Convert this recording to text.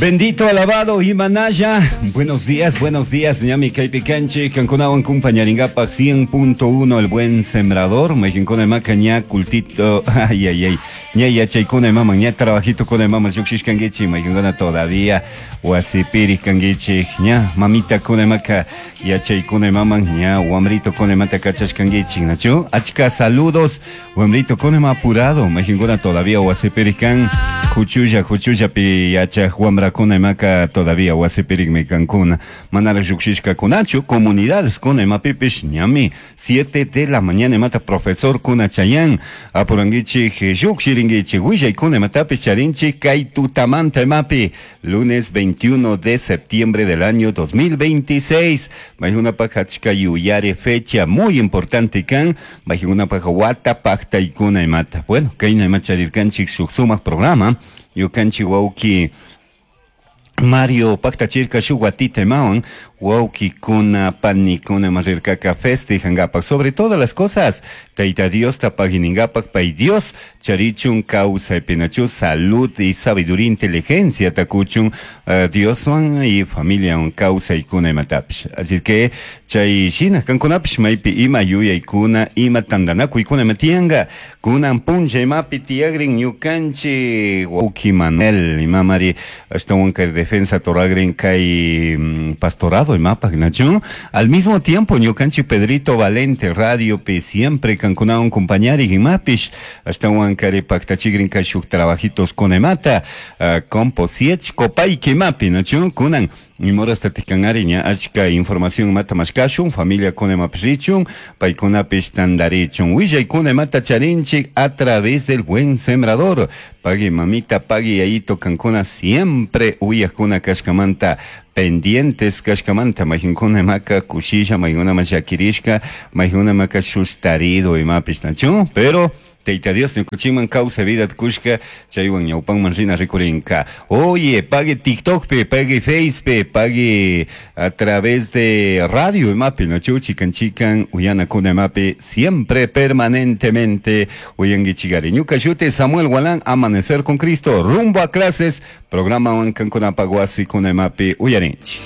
Bendito, alabado Himalaya. Buenos días, ñami kaypi kanchik, kankunawan kumpañarinkapak 100.1 El Buen Sembrador, mayqinkuna imaka ña cultito, ay, ay, ay, ña yachaykuna imaman, ña trabajito kuna imaman lluqshishkankichik, mayqinkuna todavía wasipiri kankichik, ña mamita kuna imaka yachaykuna imaman, ña wamrito kuna imata kachashkankichik, nachu? Achka saludos, wamrito kuna ima apurado, mayqinkuna todavía wasipiri kan, huchulla, huchullapi yachaj wamrakuna imaka todavía wasipirikmi kankuna, manaraq lluqshishkakunachu, comunidades kuna imapipish ñami 7 de la mañana imata profesor kuna chayan, apurankichik lluqshirinkichik, willaykuna imatapish charinchik kay tutamanta imapi, lunes 21 de septiembre del año 2026, maykunapaq achka yuyari fecha muy importante kan, maykunapaq wata paqtaykuna imata. Bueno, kayna ima charirkanchik shuk sumaq programa, ñukanchik wawki Mario paktachirka shuk watita imawan, wawkikuna panikuna ima rirkaka festejankapak, sobre todas las cosas, Tayta Diosta pagininkapak, pay Dios charichun kawsaypinachu salud y sabiduría, inteligencia takuchun, Dioswan y familiawan kawsaykuna imatapish. Así que chay shina kankunapish maypi ima yuyaykuna, ima tantanakuykuna ima tiyanka, kunan punlla imapi tiyagrin ñukanchik wawki Manuel, imamari ashtawan kay defensa toragrin kay pastorado imapak nachu. Al mismo tiempo ñukanchik Pedrito Valente radio pi siempre kankunawan compañari imapish ashtawan kari paktachigrin kay shuk trabajitos con imata, composiech kopayki imapi nachu kunan imorasta tikanari ña achka información imata mashkashun, familia kuna imapish richun, paykunapish tantarichun, willaykuna imata charinchik a través del Buen Sembrador. Pagui mamita, pagui yayito kankuna siempre uyakuna kashkamanta, pendientes kashkamanta, mayqinkuna imaka kushilla, mayqinkuna ima llakirishka, mayqinkuna imaka shustarido imapish nachu, pero Tayta Dios ñukuchikman kawsay vida kushka, chaywan ñawpanman rina rikurinka. Oye, pague TikTok pe, pague Face pe, pague a través de radio imapi, nachu, chikan chikan, uyana kuna imapi, siempre permanentemente uyankichikari. Ñuka shuti Samuel Gualán, Amanecer con Cristo, rumbo a clases, programa wan kankunapaq wasi kuna imapi uyarinchik.